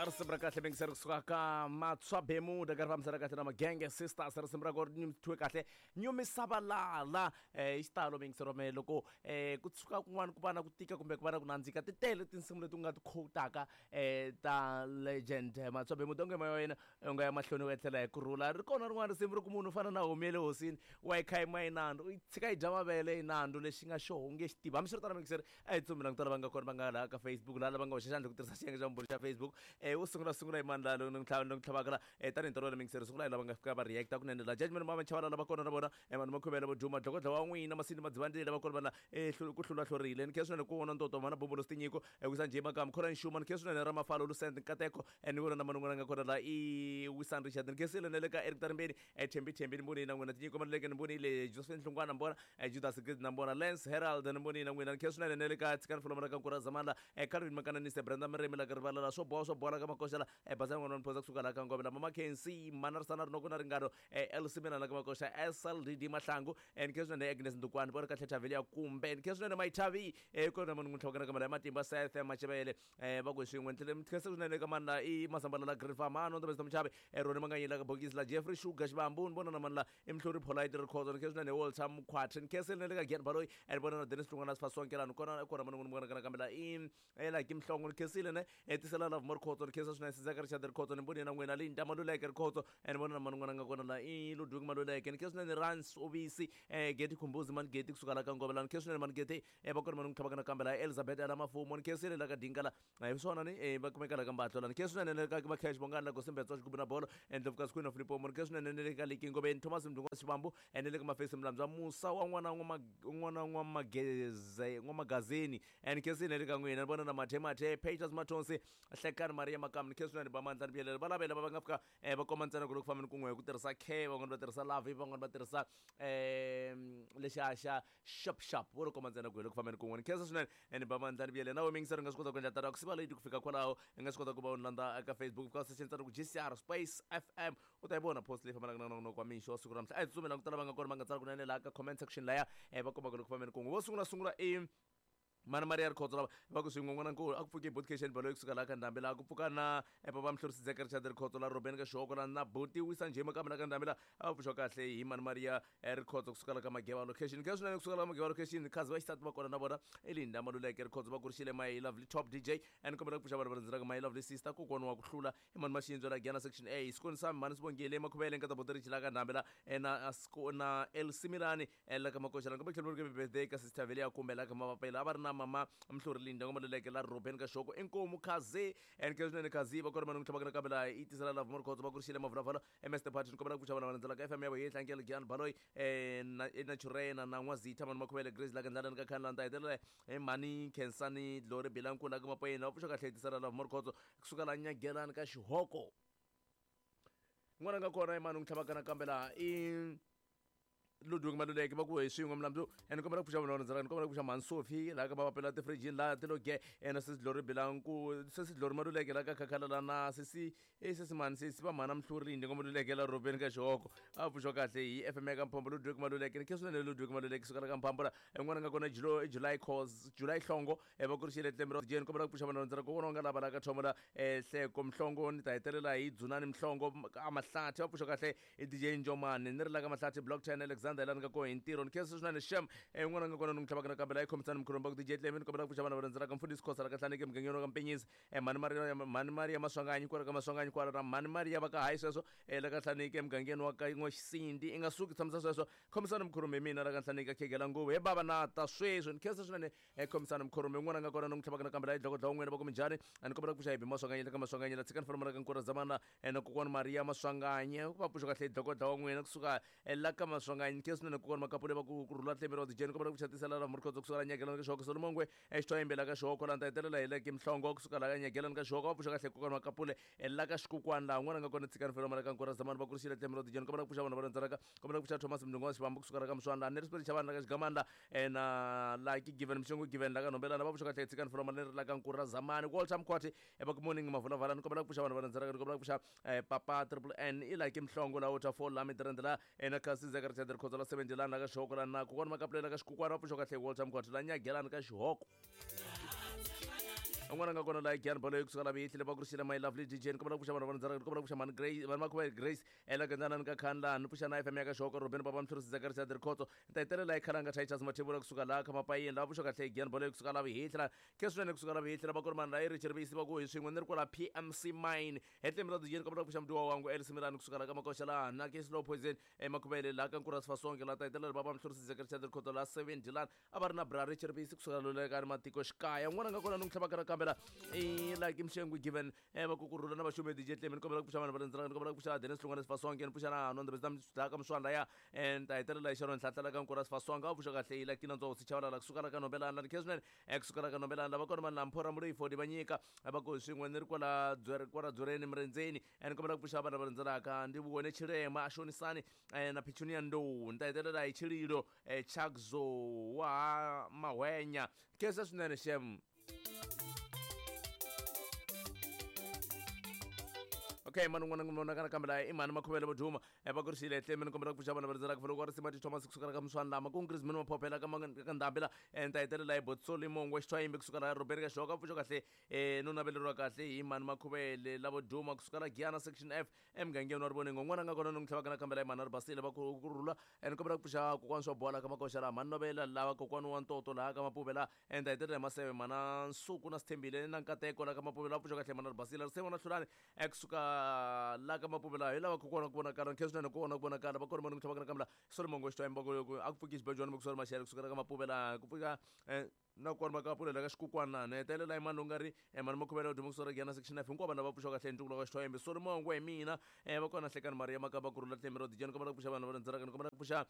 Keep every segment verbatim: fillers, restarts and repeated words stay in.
Risimu ra kahle mingiseri kusuka ka Matswa Bemuda ka ri fambisana kahle na Magenge Sisters. Risimu ra kona ri thyiwe kahle Nyumisavalala. Eh, i xitalo mingiseri wa mehe loko eh, ku tshuka kun'wana ku va na ku tika kumbe ku va na ku nandzika, ti tele tinsimu leti u nga ti quotaka eh, ta legend Matswa Bemuda. Onge moya wa yena u nga ya mahlweni u etlela hi kurhula. Ri kona rin'wana risimu ri ku munhu u fana na homu ya le hosini wa yi kha yi ma yi nandzu, u yi tshika yi dya mavele yi nandzu, lexi nga xoho u nge xi tivi. Hambiswiritano mingiseri, a hi tsumi languta lava nga kona va nga laha ka Facebook, laha lava nga hoxa xandla ku tirhisa xiyenge xa mbhulu xa Facebook. Eh, wo sungula sungula hi mani laha loyi ni n'wi tlhavaka la? Eh, tanihi ntolovelo mingiseri, sungula hi lava nga fika va reacta kunene la. Judgment Mama Chavala lava kona na vona, eh, vanhu makhuvela vo duma dlokodla wa n'wina Masindi Madzivandlela va kona va la, eh, ku hlula hlorile. Ni khensa swinene ku vona ntoto mana Bombolo Tinyiko, eh, wisa njhe makamu khona nxuma. Ni khensa swinene ra Mafalo Lucent Nkateko, eh, ni vona na man'wana nga kona la i Wisan Richard. Ni khensile na le ka Eric Tarimbeni, eh, Thembi Thembi ni vonile na n'wina, Tinyiko Maluleke ni vonile, Josephine Hlungwana ni vona, eh, Judas Grid na vona, Lance Herald ni vonile na n'wina. Ni khensa swinene na le ka Tshikani Fuloma la ka Nkura Zamandla, eh, Calvin Makananise, Brenda Miremi la ka Rivala la swo boha swo boha la ka Makoxa la, eh, Bazana n'wana Phosa kusuka la ka Ngome la, Mama Kensi Manarisana Rinoko na Ringano, eh, L Simena la ka Makoxa, S L D D Mahlangu, eh, ni khensa swinene Agnes Ndukwani vona kahle Thaveli ya kumbe. Ni khensa swinene Maithavi, eh, kona munhu n'wi tlhavaka na kamera ya matimba Seth Machevele, eh, va ku swin'we. Ni khensa swinene ka mani la i Masambala la Green Farm ano Ndabezitha Muchavi, eh, Roni Manganyela ka Bokisi la Jeffrey Sugar Xivambu ni vona na mani la i Mhluri Polite Rikhozo. Ni khensa swinene Walter Mkhwatri. Ni khensa le ka Gian Baloyi, eh, ni vona na Dennis Hlungwana Sifasonkelani kona kona munhu n'wi vona kana kambe la i eh, la Kimhlongo. Ni khensile ne, eh, tisela Love More Khotso. Ni khensa swinene Sizeka Richard Rikhotso, ni vonile na n'wina Linda Maluleke Rikhotso, eh, ni vona na mani n'wana nga kona la i Ludwig Maluleke. Ni khensa swinene Rans Obisi, eh, Geti Khumbuzi mani Geti kusuka la ka Ngove la. Ni khensa swinene mani Geti, eh, va kona mani n'wi tlhavaka nakambe la Elizabeth ala Mafumo. Ni khensile la ka Dinga la, eh, swona ni eh, va kumeka la ka Mbatlo la. Ni khensa swinene le ka va Cash Bongani la Gosimbetswa Xigubu na Bolo, eh, Ndlovukazi Queen of Limpopo. Ni khensa swinene le ka Liki Ngobeni Thomas Mdungwa Xivambu, eh, ni le ka Mafesi Mlambywa Musa wa n'wana n'wana n'wamageze n'wamagazini, eh, ni khensile le ka n'wina. Ni vona na Mathe Mathe Peters Mathonsi Hlekani Maria Makamu. Ni khensa swinene ba mandla ni vuyelela va lavela va va nga fika, eh, va komba ntsena ku loko fambeni kun'we hi ku tirhisa K, van'wana va tirhisa Love, van'wana va tirhisa eh, lexiya xa Shop Shop, vo ri komba ntsena ku hi loko fambeni kun'we. Ni khensa swinene, eh, ni ba mandla ni vuyelela na we mingiseri. U nga swi kota ku endla tano ku siva leti ku fika kwalaho. U nga swi kota ku va u ni landza eka Facebook, fika search ntsena ku G C R space F M, u ta yi vona post leyi fambelaka na nongonoko wa mixo wa siku ra namuntlha. A hi tsutsumela ku tala va nga kona va nga tsala kunene laha ka comment section laya, eh, va kombaka loko fambeni kun'we. Vo sungula sungula i Mana Maria Rikhotso lava va ku swin'we n'wana nkulu a ku pfuki Botcation Baloyi kusuka laha ka Ndhambi laha ku pfuka na eh, papa Mhluri Sidzeka Richard Rikhotso la Robeni ka Xihoko la na Buti Wisa Njhema kambe la ka Ndhambi la a va pfuxiwa kahle hi Mana Maria, eh, Rikhotso kusuka la ka Mageva location. Khensa swinene kusuka la ka Mageva location, khazi va xisati va kona na vona i Linda Maluleke Rikhotso va kurixile my lovely top D J, and kombela ku pfuxa vanhu va rhandzelaka my lovely sister kokwana wa ku hlula i Mani Maxindzo la Gyana section A Sikoni sami Mani Sibongile Makhuvele nkata Buti Richila ka Ndhambi la, eh, na na El Similani, eh, la ka Makoxa la. Kombela ku tlhela ku birthday ka sister Velia kumbe la ka Mavapela a va ri na mama Mhluri Linda Maluleke la Robeni ka Xoko inkomu Khazi, and khensa swinene Khazi va kona man'we tlhavaka nakambe la i tisela Love More Khotso va kurixile Mavulavala M S Party. Ni kombela ku pfuxa vanhu va landzelaka F M ya vohe tlangela Gian Baloyi, eh, na Naturena na N'wazitha Mani Makhuvele Grace la ka Ndlalani ka Khanlanda hetelela hi Mani Khensani Glory Bilankulu la ka Mapoyeni va pfuxa kahle tisela Love More Khotso kusuka la Nyagelani ka Xihoko. N'wana nga kona i mani n'wi tlhavaka nakambe laha i Ludwig Maluleke va ku hi swin'we Mlambu, and kombela ku pfuxa vanhu va rhandzaka. Ni kombela ku pfuxa Mhani Sophie laha ka Mavapela tifirijini laha ti lo ge, na sesi Glory Bilanku, sesi Glory Maluleke laha ka Khakhala la na sesi, eh, sesi mani sesi va mhana Mhluri Lindi ngoma Maluleke la Robeni ka Xihoko a pfuxiwa kahle hi F M ya ka Mphombo Ludwig Maluleke. Ni khensa swinene Ludwig Maluleke suka la ka Mphombo la. N'wana nga kona July, July cause July Hlongo, eh, va kurixile tlembe ra Jane. Kombela ku pfuxa vanhu va rhandzaka ku vona nga lava la ka Thomo la, eh, Hleko Mhlongo. Ni ta hetelela hi Dzunani Mhlongo a Mahlathi va pfuxiwa kahle hi D J Njomani. Ni ri la ka Mahlathi Block ten Alexander la nga ko hi ntirho. Ni khensa swinene Shem, eh, n'wana nga kona ni n'wi tlhavaka nakambe la i khomisana Mkhulumba ku D J Clement. Kombela ku pfuxa vanhu va rhandzaka Mfundhisi Khosa la ka Hlaneke mugangeni wa ka Mpenyisi, eh, Mhani Maria, Mhani Maria Maswanganyi kwala ka Maswanganyi kwala na Mhani Maria va ka hayi sweswo, eh, la ka Hlaneke mugangeni wa ka N'waxisindi. I nga suki tshamisa sweswo. Khomisana Mkhulumba hi mina la ka Hlaneke khegela nguvu he bava na ta sweswi. Ni khensa swinene, eh, khomisana Mkhulumba. N'wana nga kona ni n'wi tlhavaka nakambe la i dlokodla wun'wini va ku minjhani. A ni kombela ku pfuxa hi Maswanganyi la ka Maswanganyi la tshikani famba la ka Nkura Zamana, eh, na kokwana Maria Maswanganyi va pfuxa kahle dlokodla wa n'wina kusuka, eh, la ka Maswanganyi. Ni khensa swinene kokwana Makapule va ku rhula tlembe ra Jane. Kombela ku pfuxa tisela la Murikhodzo kusuka la Nyagelani ka Xihoko Solomongwe, eh, Xithoyimbe la ka Xihoko la nta hetelela hi le Kimhlongo kusuka la ka Nyagelani ka Xihoko va pfuxa kahle kokwana Makapule, eh, la ka Xikukwana laha n'wana nga kona tshikani fela la ka Nkura Zamana va kurixile tlembe ra Jane. Kombela ku pfuxa vanhu va rhandzaka. Kombela ku pfuxa Thomas Mdungwa Xivambu kusuka la ka Muswana la Nelson Chavani la ka Xigamani la, eh, na la ki Given Mshongo Given la ka Nombelana va pfuxa kahle tshikani fela la la ka Nkura Zamani. Walter Mkhwati, eh, va ku morning Mavulavala. Ni kombela ku pfuxa vanhu va rhandzaka. Ni kombela ku pfuxa, eh, Papa Triple N i la Kimhlongo la Waterfall la Midrand la, eh, na Kasi Zeka Richard Rikhotso la seventy la ka Xihoko la na kokwana Makapulela ka Xikukwana va pfuxa kahle Walter Mkhwati la Nyagelani ka Xihoko. Un'wana nga kona la Gyan Bolo kusuka la Vihli va ku rixile my lovely D J ni kombela ku pfuxa vanhu va ndzara ni kombela ku pfuxa mani Grace vanhu va khuva Grace ela gandzana ni ka Khanla ni pfuxa na F M ya ka Xoko Robin Baba Mthurisi Zakaria Rikhotso ni ta hetelela hi Khalanga Titus Mathebula kusuka la ka Mapayeni la pfuxa kahle Gyan Bolo kusuka la Vihli ke swinene kusuka la Vihli va ku ri mani la Richard Visi va ku hi swin'we ni ri kwala P M C Mine hetlemi ra D J ni kombela ku pfuxa mutiwa wangu Elsie Milani kusuka la ka Makoxa la na ke Slow Poison emakhuvele la ka Nkura Sifasonke la ta hetelela Baba Mthurisi Zakaria Rikhotso la seven Dylan a va ri na bra Richard Visi kusuka la ka matiko xikaya n'wana nga kona ni n'wi tlhava ka kambela i like Mshengu given eh va kukurula na vaxume D J Clement kombela ku pfuxa vanhu va lendzela kombela ku pfuxa Dennis Hlongwane Sifasonke ni pfuxa na Nonde Besta Mdaka Mswanda ya and ta hetelela hi Sharon Nhlanhla ka Nkura Sifasonke a pfuxa kahle i like Nondzo Sichavala la kusuka la ka Nobelana ni Kesman eh kusuka la ka Nobelana lava kona vanhu Lamphora Mulifo di vanyika va ku swin'we ni ri kwala dzwere kwala dzwereni Mrendzeni and kombela ku pfuxa vanhu va lendzelaka ndi vone Chirema Ashonisani na Pichunia Ndou ni ta hetelela hi Chililo Chakzo wa Mahwenya kesa swinene xem. Okay, mani n'wana n'wana kana kambe la i mani Makhuvele Voduma va ku rixile tlemi ni kombela ku pfuxa vanhu va rindzelaka folo ku ri Simati Thomas kusuka ka Mswana lama ku Chris Mini Maphophela ka ka Ndhambi la ta hetelela hi Botsoli Mongwe Xithwayimbi kusuka la Robert ka Xoka pfuxa kahle eh no naveleriwa kahle hi mani Makhuvele la Voduma kusuka la Giyana section F emugangeni wa Riboneng n'wana nga kona ni n'wi tlhava kana kambe la i mani ri basile va ku rhula ni kombela ku pfuxa kokwana swa bola ka Makoxa la mani Novela lava kokwana wa Ntoto laha ka Mapuve la ta hetelela hi Maseve mana Nsuku na Sithembile na Nkateko la ka Mapuve la pfuxa kahle mani ri basile ri na Hlulani kusuka la ka Mapuve la hi lava kokwana ku vonakala nkhensa swinene ku vona ku vonakala va kona mani n'wi tlhava kana kambe la Solomon Xitwayimba ku a ku pfuki xibejwana ku sori Maxele kusuka ka Mapuve la ku pfuka na kona va ka pfulela ka xikukwana ni hetelela hi mani u nga ri mani Makhuvele Voduma kusuka Giyana section F hinkwavo vanhu lava pfuxiwa kahle ntuku wa Xithwayimbi Solomon hi mina va kona Hlekani Maria Makamba Kurhula Tlemi ro D J ni kombela ku pfuxa vanhu va rindzelaka ni kombela ku pfuxa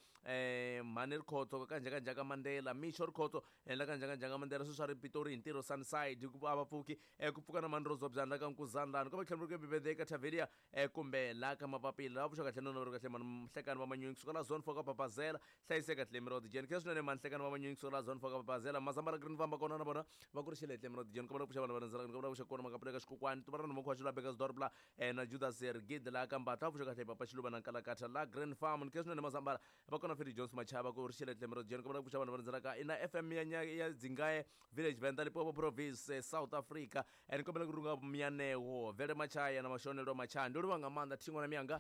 mhani Rikhotso ka Njhakanjhaka Mandela Misho Rikhotso la ka Njhakanjhaka Mandela sweswi a ri Pitori hi ntirho Sunnyside ku a va pfuki ku pfuka na mani Rozobyana la ka Nkuzana lani kombela ku tlhela ku Bebede ka Tavelia kumbe la ka Mapapila lava pfuxiwa kahle no ri kahle mani Hlekani va Manyunyu kusuka la Zone four ka Papazela hlayiseka Tlemi ro D J ni swinene mani Hlekani va Manyunyu kusuka la Zone four ka Papazela Mazambara Green famba kona na vona va ku rixile Tlemi ro D J ni kombela ku pfuxa vanhu va rindzelaka ni kombela ku pfuxa kona Makapula ka Xikokwani Tuvarana Mokhuwa Xilwa Bekasdorp la na Judas Rigid la ka Mbatha pfuxa kahle Papa Xiluva na Nkalakatha la Green Farm ni swinene Mazambara va kona Fedi Jones Machava ku rixile Tlemi ro D J ni kombela ku pfuxa vanhu va rindzelaka ina F M ya ya Dzingaye Village Venda Limpopo Province South Africa ni kombela ku runga Myaneho Vele Machaya na Mashonelo Machaya ndi livha nga maanḓa thingo na miyanga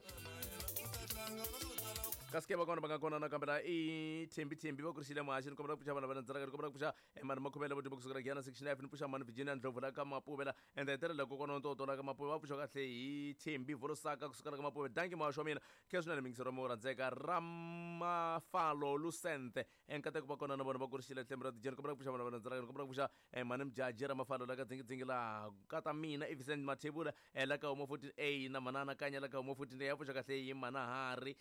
kasi va kona va nga kona na kambe la i Thembi Thembi va ku rixile muhaxi ni kombela ku pfuxa vanhu va rindzelaka ni kombela ku pfuxa mani Makhuvele Voduma kusuka Giyana section F ni pfuxa mani Virginia Ndlovu la ka Mapuve la ende hetelela kokwana wa Ntoto la ka Mapuve va pfuxa kahle hi Thembi Volosaka kusuka la ka Mapuve danki muhaxi wa mina khe swinene mingisero wa rhandzeka Ramafalo Lucente enkateko va kona na vona va ku rixile Tlemi ra D J ni kombela ku pfuxa vanhu va rindzelaka ni kombela ku pfuxa mani Mjaji Ramafalo la ka Dzingidzingi la kata mina i Vincent Mathebula la ka Humo fourteen A na manana Kanya la ka Humo fourteen A ya pfuxa kahle hi Manahari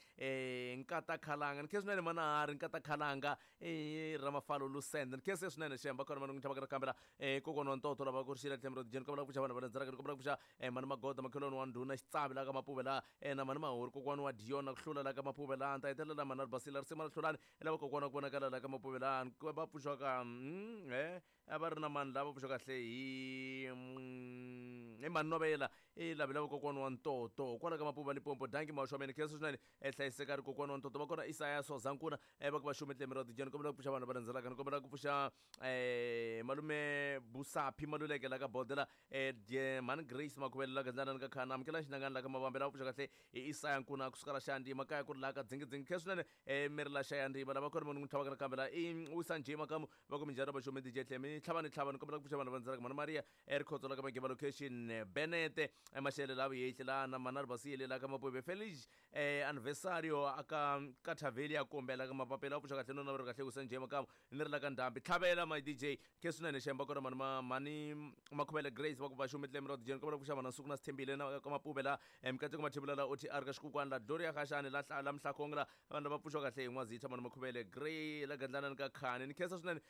Nkata Khalanga ni khe swinene Manahari Nkata Khalanga i Ramafalo Lucente ni khe se swinene xemba kona mani n'wi tlhava ka kambela kokwana wa Ntoto lava ku rixile Tlemi ra D J ni kombela ku pfuxa vanhu va rindzelaka ni kombela ku pfuxa mani Magoda makhelwani wa Ndhuna Xitsavi la ka Mapuve la na mani Mahori kokwana wa Diona ku hlula la ka Mapuve la ta hetelela mani Ribasile risima ra Hlulani lava kokwana ku vonakala la ka Mapuve la va pfuxiwa ka eh a va ri na mani lava pfuxiwa kahle hi hi mani Novela i lavi lava kokwana wa Ntoto kwala ka Mapuve Limpopo danki muhaxi wa mina khensa swinene hlayiseka ri kokwana wa Ntoto va kona Isaya Sozankuna va ku va xume Tlemi ra D J ni kombela ku pfuxa vanhu va rindzelaka ni kombela ku pfuxa malume Busaphi Maluleke la ka Bodela mani Grace Makhuvele la ka Ndlanani ka Khana amukela Xinangani la ka Mavambe lava pfuxa kahle hi Isaya Nkuna kusuka la Xantima kaya ku ri la ka Dzingidzingi khensa swinene miri la Xayantima lava kona munhu n'wi tlhavaka na kambe la i Wisa Njhe Makamu va ku minjhani va xume D J Tlemi tlhava ni tlhava ni kombela ku pfuxa vanhu va rindzelaka mani Maria Rikhotso la ka Mageba location Benete Maxele la Vuyehli la na Manari Basile la ka Mapuve Felix anniversario aka ka Tavelia kumbe la ka Mapapela pfuxa kahle no na ri kahle ku Senje Makamu ni ri la ka Ndhambi tlhavela my D J ke swinene xemba kona mani mani Makhuvele Grace va ku va xume Tlemi ra D J ni kombela ku pfuxa vanhu Nsuku na Sithembile na ka Mapuve la Mikateko Mathebula la O T R ka Xikukwana la Gloria Khashani la la Mhlakhongo la vanhu lava pfuxiwa kahle hi N'wazitha mani Makhuvele Grey la Gandlanani ka Khani ni khensa swinene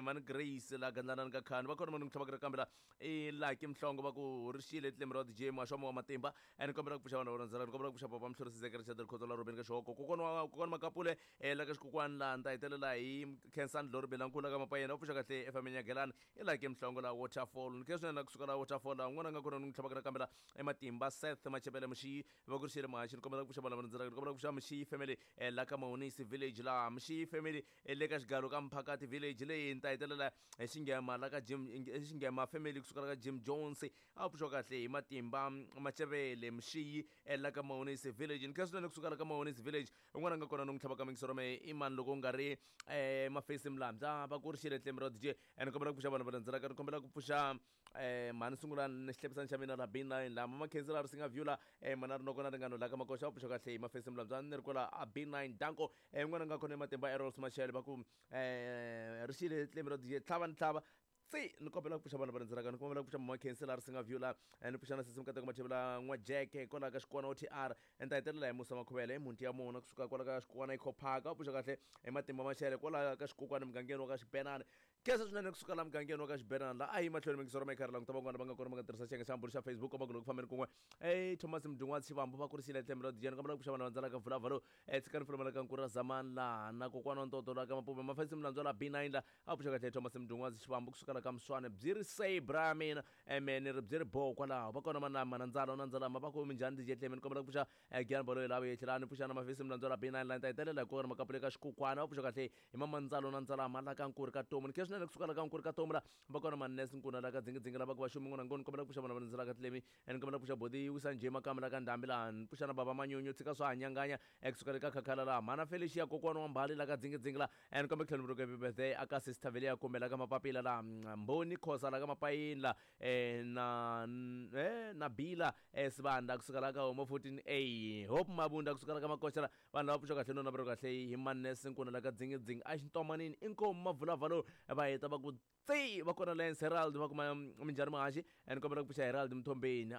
mani Grace la Gandlanani ka Khani va kona mani n'wi tlhavaka kambe la i Lucky Mhlongo va ku rixile Tlemi ra D J D J Mashomo wa matimba ni kombela ku pfuxa vanhu va landzela ni kombela ku pfuxa papa Mhlorisi Zekere Chadel Khotola Robin ka Xihoko kokwana wa kokwana Makapule eh la ka xikokwani laha ni ta hetelela hi Khensani Lori Belankulu ka Mapayena u pfuxa kahle efameni ya Gelani i la ke Mhlongo la Waterfall ni khe swinene kusuka la Waterfall la un'wana a nga kona ni n'wi tlhavaka nakambe la ematimba Seth Machebele Mxiyi va ku rixile muhaxi ni kombela ku pfuxa vanhu va landzelaka ni kombela ku pfuxa Mxiyi family eh, la ka Maonisi village la Mxiyi family eh, le ka xigalo ka Mphakati village leyi ni ta hetelela hi Xingema la ka Jim Xingema family kusuka la ka Jim Jones a pfuxiwa kahle hi matimba Machebele Mxiyi eh, la ka Maonisi village ni khe swinene kusuka la ka Maonisi village un'wana a nga kona ni n'wi tlhavaka mingisoro me i mani loko u nga ri eh, Mafesi Mlambya va ku rixile tlembe ra D J ni kombela ku pfuxa vanhu va landzelaka ni kombela ku pfuxa eh mhani sungula ni xihlepisani xa mina la B nine la mama Khensi la ri singa view la eh mana ri noko na ringano la ka makoxa va pfuxa kahle hi Mafesi Mlambya ni ri kwala a B nine danko eh un'wana a nga kona matimba Errol Machel va ku eh rixile tlembe ra D J tlhava ni tlhava tsi ni kombela ku pfuxa vanhu va landzelaka ni kombela ku pfuxa mama Khensi la ri singa view la ni pfuxa na sisi Mukateko Mathebula n'wa Jack kwala ka xikwana O T R ni ta hetelela hi Musa Makhuvele hi mhunti ya mona kusuka kwala ka xikwana Eco Park va pfuxa kahle hi matimba Machele kwala ka xikokwani mugangeni wa ka Xibenani khensa swinene kusuka la mugangeni wa ka Xibenani la a yi mahlweni mingisoro ma karhi languta van'wana va nga kona va nga tirhisa xiyenge xa mbulu xa Facebook komba ku loko fambeni kun'we eh Thomas Mdungwa Xivambu va kurisile tlembe ra D J ni kombela ku pfuxa vanhu va landzelaka vulavula eh tshikani fulomela ka Nkura Zamani la na kokwana wa Ntoto la ka Mapume Mafesi Mlandzwa la B nine la a pfuxa kahle Thomas Mdungwa Xivambu kusuka la ka Mswane byi ri say bra mina eme ni ri byi ri bo kwalaho va kona mana manandzala nandzala ma va ku minjhani D J Tleme ni kombela ku pfuxa Gian Baloyi la vuyetlhelani ni pfuxa na Mafesi Mlandzwa la B nine la ni ta hetelela hi kona makapule ka xikukwana va pfuxa kahle hi mamandzalo nandzala ma la ka Nkuri ka Tomu ni khe swinene kusuka la ka Nkuri ka Tomu la va kona Mannes Nkuna la ka Dzingidzingi la va ku va xumi n'wana ngoni kombela ku pfuxa vana va landzelaka Tlemi ni kombela ku pfuxa Bodi Wisa Njhe Makamba la ka Ndhambi laha ni pfuxa na Baba Manyunyu tshika swa hanyanganya ekusuka le ka Khakhala laha Mhana Felicia kokwana wa Mbali la ka Dzingidzingi la ni kombela ku tlhela ni happy birthday aka Sister Velia kumbe la ka Mapapila la Mboni Khosa la ka Mapayini la eh, na eh, na Bila eh, Sibanda kusuka la ka Homo fourteen A Hope Mabunda kusuka la ka Makoxa la vanhu lava pfuxa kahle no navelo kahle hi Mannes Nkuna la ka Dzingidzingi a xintomanini inkomu mavulavalo va heta va ku tsi va kona Lance Herald va kuma minjhani muhaxi ni kombela ku pfuxa Herald Mthombeni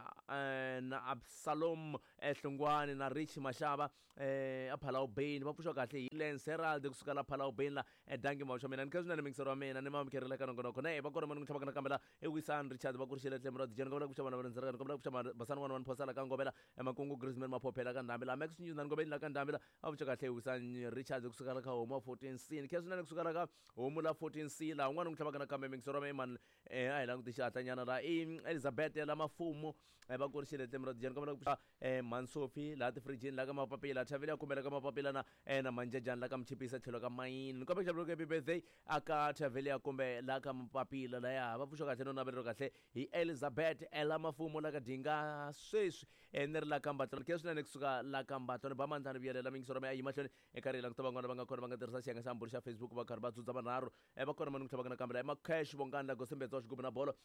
na Absalom Hlungwani na Rich Mashava eh a Palau Bain va pfuxa kahle hi Lance Herald kusuka la Palau Bain la dangi maxa mina ni kha swinene mingisero wa mina ni mamukerile ka nongonoko na va kona mani n'wi tlhavaka nakambe la i Wisani Richard va kurixile tlembe ra D J ni kombela ku pfuxa vanhu va landzelaka ni kombela ku pfuxa Basani n'wana wa Nphosala ka Ngovela Makungu Griezmann Maphophela ka Ndhambi la Max News na Ngoveni la ka Ndhambi la a pfuxa kahle hi Wisani Richard kusuka la ka Homu fourteen C ni kha swinene kusuka la ka Homu la fourteen C la un'wana n'wi tlhavaka nakambe mingisero wa mina eh a hi languti xihatlanyana la i Elizabeth la Mafumo va kurixile tlembe ra D J ni kombela ku pfuxa eh Mansofi la tifrijini la ka Mapapila Thavile ya kumbela ka Mapapila na eh na Manjajani la ka Mchipisa tlhelo ka Mayini ni kombela ku happy birthday aka Thavile ya kumbe la ka Mapapila la ya va pfuxa kahle no navelo kahle hi Elizabeth ela Mafumo la ka Dinga sweswi eh ni ri la ka Mbatlo ke swinene kusuka la ka Mbatlo ni ba mandlani vuyelela mingisoro ya mahlweni eka ri languta van'wana va nga kona va nga tirhisa xiyenge xa mbulu xa Facebook va karhi va dzudza vanharhu eh va kona mani ku tlhavaka nakambe la Macash Bongani la Gosembetsa wa xigubu na bolo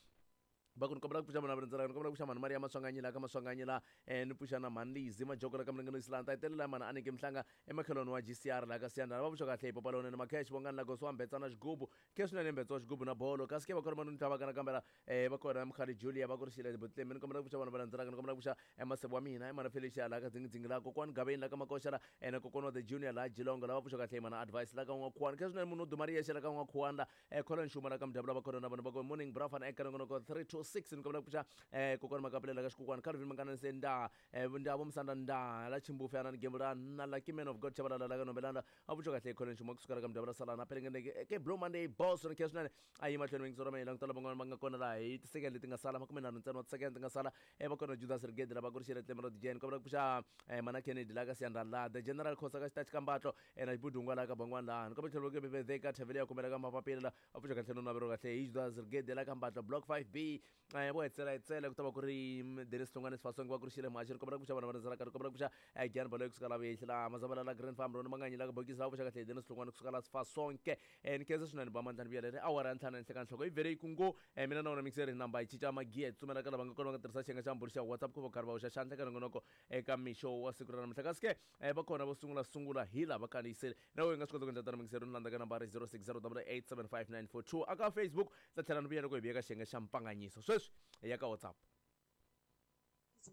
va ku ni kombela ku pfuxa vanhu va landzelaka ni kombela ku pfuxa mhani Maria Maswanganyi la ka Maswanganyi la eh ni pfuxa na mhani Lizi Majoko la ka Mlingano Island ta hetelela mhani Anike Mhlanga emakhelweni wa G C R la ka Siyandana va pfuxa kahle hi Papa Lonene Macash Bongani la Gosi wa Mbetsa na xigubu ke swinene Mbetsa wa xigubu na bolo kasi ke va kona mani ni tlhavaka nakambe la eh va kona Mkhali Julia va ku rixile Butlemi ni kombela ku pfuxa vanhu va landzelaka ni kombela ku pfuxa Masebo wa mina Emana Felicia la ka Dzingidzingi la kokwani Gaveni la ka Makoxa la eh na kokwana wa the Junior la Jilongo la va pfuxa kahle hi mhani Advice la ka N'wakhuwani ke swinene munhu wo duma ri yexe la ka N'wakhuwani la eh Colin Xuma la ka Mdyabula va kona na vona va ku morning brafana eka nongonoko three two six ni kombela ku pfuxa eh kokwana Makapulela ka xikokwani Calvin Mangana se nda eh ndavo Musanda nda la Chimbufe ana ni gembula na Lucky Man of God Chabalala la ka Nombelana a pfuxa kahle Colin Xuma kusuka la ka Mdyabula Salana pelengene ke Blue Monday boss ni khe swinene a yi mahlweni mingisoro ma languta lava van'wana va nga kona laha hi tisekende leti nga sala makume nharhu ntsena wa tisekende ti nga sala eh va kona Judas Rigedi lava ku rixile tlembe ra D J ni kombela ku pfuxa eh mana Kennedy la ka Siyandha la the General Khosa ka xitachi ka Mbatlo eh na Xibudungwa la ka Bangwana la ni kombela tlhelo ke birthday ka Thavile ya kumela ka Mapapila la a pfuxa kahle no navelo kahle hi Judas Rigedi la ka Mbatlo block five B eh vo hetsela hetsela ku ta va ku ri Dennis Hlongwane Sifasonge va ku rixile muhaxi ni kombela ku pfuxa vanhu va landzelaka ni kombela ku pfuxa Gian Baloyi kusuka la Vuyehli la Mazabala la Grand Farm Rona Manganyi la ka Bokisi la pfuxa kahle Dennis Hlongwane kusuka la Sifasonke eh ni khensa swinene ba mandlani vuyelele awara ya ntlhanu ehenhla ka nhloko i vhele yi ku ngo eh mina na wona mixeri namba yi cinca magiya hi tsutsumela ka lava nga kona va nga tirhisa xiyenge xa mbulu xa WhatsApp ku va karhi va hoxa xandla ka nongonoko eka mixo wa siku ra namuntlha kasi ke eh va kona vo sungula sungula hi lava kandziyisele na wena u nga swi kota ku endla tano mixeri ni landza ka nambara zero six zero double eight seven five nine four two aka Facebook ta tlhela ni vuya loko hi vuya ka xiyenge xa mpanganyiso sweswi hi ya ka WhatsApp.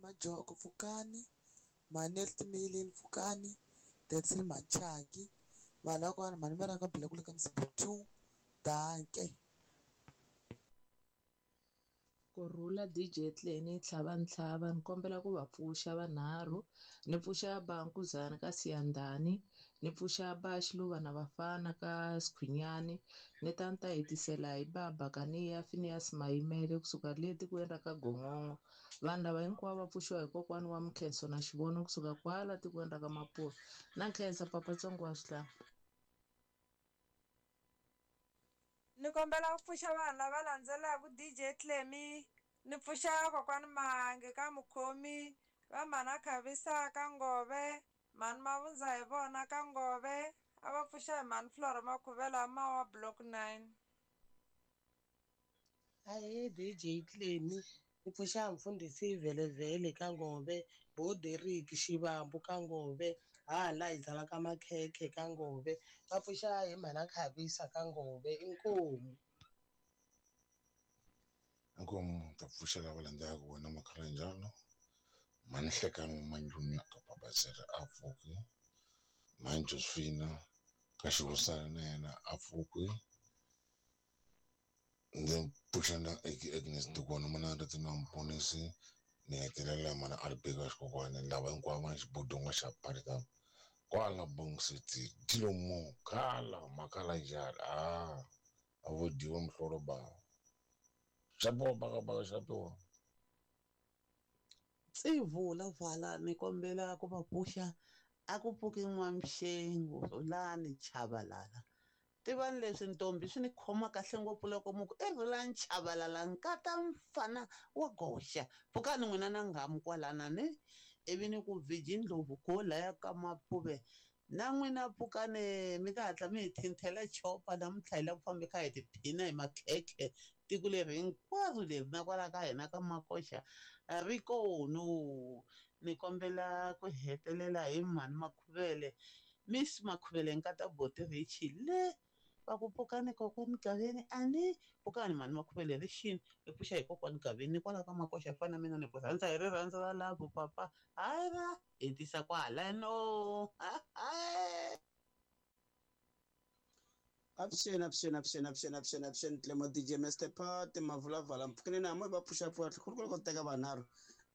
Majoko pfukani Manel Timeleli pfukani Detsil Machaki vanhu va kona mhani va rhanga bela kule ka mzimba two danke. Kurhula D J Tleni Tlhavantlhava, ni kombela ku va pfuxa vanharhu, ni pfuxa ba Nkuzana ka Siyandhani, ni pfuxa ba Xiluva na Vafana ka Sikhwinyani, ni ta ni ta hetisela hi ba Bakaniya Phineas Mayimele kusuka le tikweni ra ka Gongongo. Vanhu lava hinkwavo va pfuxiwa hi kokwana wa Mkhenso na Xivono kusuka kwala tikweni ra ka Mapula. Na nkhensa Papa Tsongo wa Swihlahla. Ni kombela ku pfuxa vanhu lava landzelaka D J Tlemi, ni pfuxa kokwani Mahange ka Mukhomi, va mhana Khavisa ka Ngove, mhani Mavundza hi vona ka Ngove, a va pfuxa hi mhani Flora Makhuvela Mawa Block nine. Ahee D J Tlemi, ni pfuxa mfundhisi Velevele ka Ngove, Bo Derek Xivambu ka Ngove, hala hi zala ka Makhekhe ka Ngove, va pfuxa hi mhana Khavisa ka Ngove, inkomu. Inkomu ta pfuxa lava landzelaka wena Makhalanjalo, mhani Hlekani Manjuni ka Babazela a pfuki, mhani Josephina ka Xihosana na yena a pfuki, ndzi pfuxa na Agnes Ndukwana mana ri na Mponisi, ni hetelela mana Albeka Xikokwani, lava hinkwavo va xibodongo xa Parika kwala Bong City, Dilomo khala Makhalanjalo, ah a vo dyiwa muhlolo ba xapiwa baka baka xapiwa. Tsivula vala ni kombela ku va pfuxa a ku pfuki N'wamxengo Rhulani Chabalala. Tivani leswi ntombi swi ni khoma kahle ngopfu loko mu ku i Rhulani Chabalala nkata mfana wa goxa. Pfukani n'wina na nghamu kwalana ne ivi ni ku Virgin Ndlovu go laya ka Mapuve na n'wina pfukani mi nga hatla mi hi thinthela chopa namuntlha hi lava ku famba kha hi tiphina hi makhekhe tiko leri hinkwaro leri na kwala ka hina ka Makoxa ri kono. Ni kombela ku hetelela hi mhani Makhuvele, Miss Makhuvele nkata Boti Richi le va ku pfukani kokwani Gaveni ani pfukani mhani Makhuvele rixini hi pfuxa hi kokwani Gaveni kwala ka Makoxa fana mina ni ku rhandza hi rirhandzu ra lavo papa hayi ra hetisa kwalano. Avuxeni, avuxeni, avuxeni, avuxeni, avuxeni, avuxeni Tlemo D J Master Pat Mavulavala mpfukeni na mo va pfuxa pfuxa khulu ku teka vanharhu.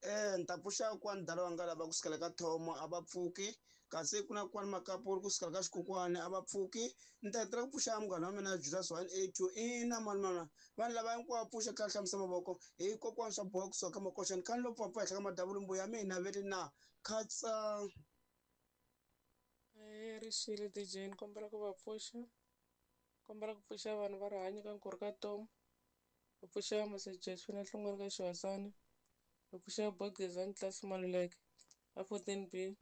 Eh ni ta pfuxa kwani dala wanga lava kusukela ka Thomo a va pfuki, kasi ku na kwani Makapuri kusukela ka Xikokwani a va pfuki. Ni ta hetelela ku pfuxa munghana wa mina Julius one eight two ina mani mani vanhu lava hinkwavo pfuxa kha hlamusa mavoko hi kokwani swa boha kusuka ka Makoxa ni khani lo pfapfa henhla ka madavulumbu ya mina ve ri na khatsa. Eh rixile D J ni kombela ku va pfuxa, kombela ku pfuxa vanhu va rihanyo ka nkurhu ka Tom, ku pfuxa Mase Josephine Hlongwane ka Xihosana, ku pfuxa Bogezani Class Maluleke a fourteen B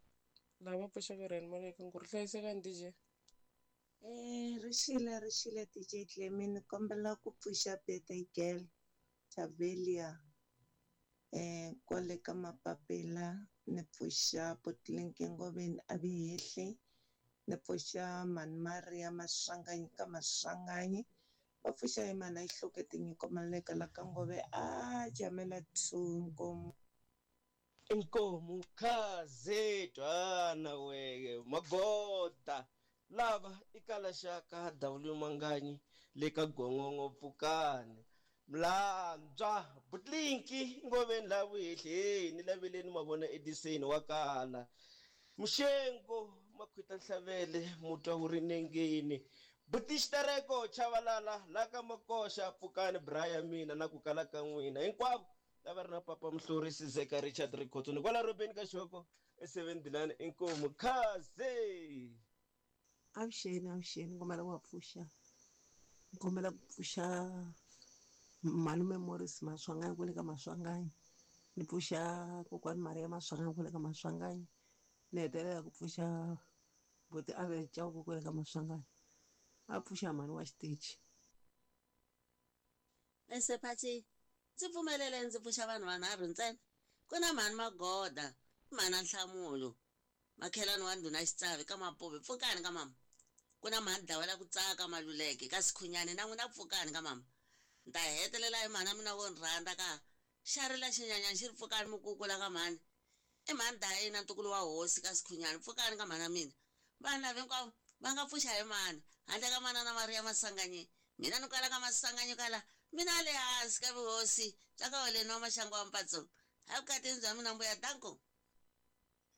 lava pfuxaka Ryan Maluleke nkurhu hlayisekani D J. Eh rixile rixile D J Tlemi ni kombela ku pfuxa birthday girl Tavelia eh kwale ka Mapapela, ni pfuxa Potlinke Ngoveni a Vihehli, ni pfuxa Mhani Maria Maswanganyi ka Maswanganyi, va pfuxa hi mhana Ihluke Tinyiko Maluleke la ka Ngove a Jamela two Nkomu. Inkomu khaze twana weye magoda lava ikalaxaka W Manganyi le ka Gongongo pfukani Mlandzwa Butlinki Ngoveni la vuhehleni laveleni mavona Edison wa kala Mxengo Makhwita Nhlavele mutwa wu ri nengeni Butixitereko Chavalala la ka Makoxa pfukani Brian mina na ku kala ka n'wina hinkwavo lava ri na Papa Mhluri Sizeka Richard Rikhotso ni kwala Robeni ka Xoko e seven Dilani inkomu khaze. Avuxeni, avuxeni kombela ku va pfuxa, kombela ku pfuxa malume Morris Maswanganyi kwale ka Maswanganyi, ni pfuxa kokwani Maria Maswanganyi kwale ka Maswanganyi, ni hetelela ku pfuxa buti Abel Chauke kwale ka Maswanganyi, a pfuxa mhani wa xitichi. Esephathi ndzi pfumelele ndzi pfuxa vanhu vanharhu ntsena. Ku na mhani Magoda, mhana Nhlamulo, makhelwani wa ndhuna Xitsavi ka Mapuve, pfukani ka mama. Ku na mhani Dawela ku tsaka Maluleke ka Sikhunyani na n'wina pfukani ka mama. Ni ta hetelela hi mhana mina wo ni rhandza ka xa rila xinyanyana xi ri pfukani mukukula ka mhani. I mhani Dayina ntukulu wa hosi ka Sikhunyani, pfukani ka mhana mina. Vanhu lava hinkwavo va nga pfuxa hi mani handle ka manana Maria Masanganyi. Mina ni kwala ka Masanganyi kwala Mina le hansi ka vuhosi bya ka Holeni wa Maxangu wa Mpatsong. A vukatini bya mina mbuya danko.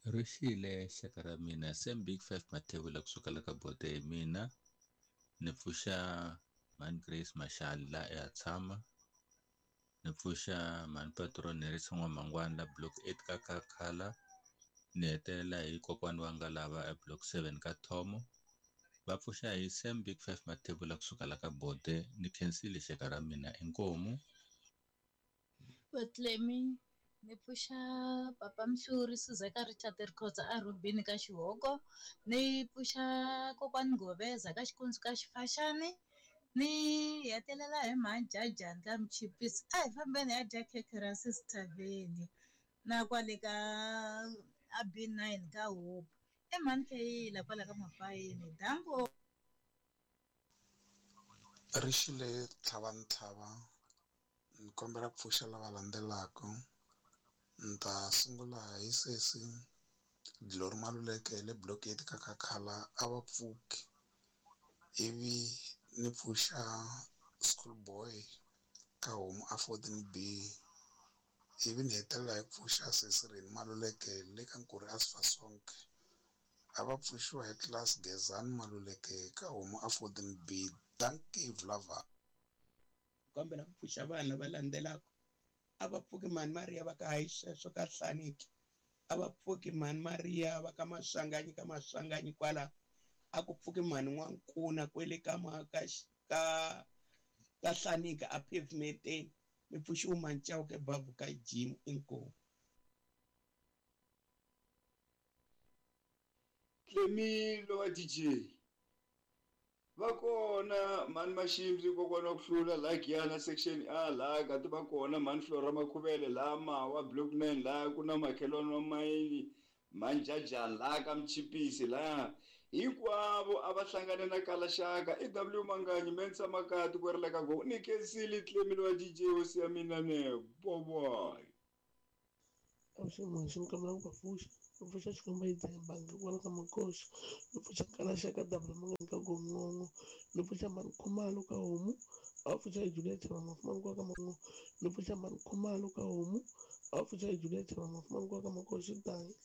Rixile xaka ra mina Sam Big Five Mathebula kusuka la ka bote hi mina ni pfuxa Mhani Grace Mashali la eHatshama, ni pfuxa Mhani Patron Nerisa N'wamangwani la block eight ka Khakhala, ni hetelela hi kokwani wa nga lava e block seven ka Thomo. Va pfuxa hi Sam Big Five Mathebula kusuka la ka bote. Ni khensile xaka ra mina inkomu. Vatlemi ni pfuxa Papa Mhluri Suzeka Richard Rikhotsa a Rubini ka Xihoko, ni pfuxa kokwani Ngoveza ka Xikundzu ka Xifaxani, ni hetelela hi Mhani Jajani ka Mchipisi. A hi fambeni ya dya khekhe ra Sister Veli na kwale ka a B nine ka Hope. I Mhani Kheyila kwala ka Mafayeni. Danko. Rixile tlhava ntlhava ni kombela ku pfuxa lava landzelaka. Ni ta sungula hi sesi Glory Maluleke le block eight ka Khakhala a va pfuki, ivi ni pfuxa Schoolboy ka homu a fourteen B, ivi ni hetelela hi ku pfuxa sesi Reni Maluleke le ka Nkuri a Sifasonke. A va pfuxiwa hi class Gezani Maluleke ka homu a fourteen B. Dankie Vlava. Kombela ku pfuxa vanhu lava landzelaka. A va pfuki Mhani Maria va ka hayi sweswo ka Hlaniki, a va pfuki Mhani Maria va ka Maswanganyi ka Maswanganyi kwala, a ku pfuki Mhani N'wankuna kwele ka ka ka ka Hlaniki a pavementeni. Mi pfuxiwa Mhani Chauke Babu ka Jim inkomu. Tlemilo wa D J va kona Mhani Maximbi kokwana wa ku hlula la Giyana section A la kati va kona Mhani Flora Makhuvele la Mawa block nine la ku na makhelwani wa mayini Mhani Jajani la ka Mchipisi la hinkwavo a va hlangane na Kalaxaka i W Manganyi Mensa Makati ku ri la ka go ni khensile Tlemilo wa D J hosi ya mina ne boboy. Avuxeni kombela ku va pfuxa. Ni pfuxa Xikwembu yi bangi kwala ka Makosi, ni pfuxa Kalaxaka W Manganyi ka Gongongo, ni pfuxa Mhani Khumalo ka homu, a va pfuxa hi Juliet Mafumani kwa ka Mango, ni pfuxa Mhani Khumalo ka homu, a va pfuxa hi Juliet Mafumani kwa ka Makosi. Dankie.